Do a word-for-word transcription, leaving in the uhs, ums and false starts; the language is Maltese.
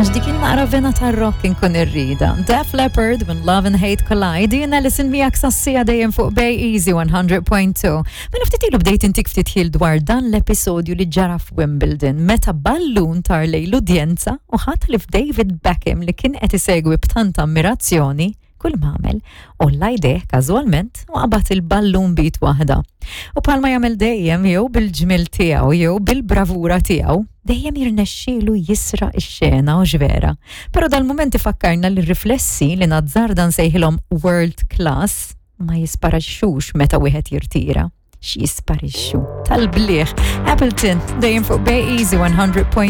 Għax dik naqra vena tar-rock inkun irrida. Def Leppard, When Love and Hate Collide, jiena Alison miegħek sas-siegħa dejjem fuq Bay Easy one hundred point two. Mela ftit ilu bdejt intik ftit ħil dwar dan l-episodju li ġara f'Wimbledon meta ballun tar lejn l-udjenza u ħadd li f'David Beckham, li kien qed isegwi b'tant ammirazzjoni, kull m'għamel għolla jdejh każwalment u qabad il-ballun b'id waħda. U bħalma jagħmel dejjem, jew bil-ġmil tiegħu jew bil-bravura tiegħu, dejjem jirnexxielu jisraq ix-xena u ġvera. Però dal-mument ifakkarna li riflessi li nazzarda nsejħilhom world class ma jisparixxux meta wieħed jirtira. X'jisparixxu? Tal-bliħ. Appleton, dejjem fuq Bay Easy one hundred point two.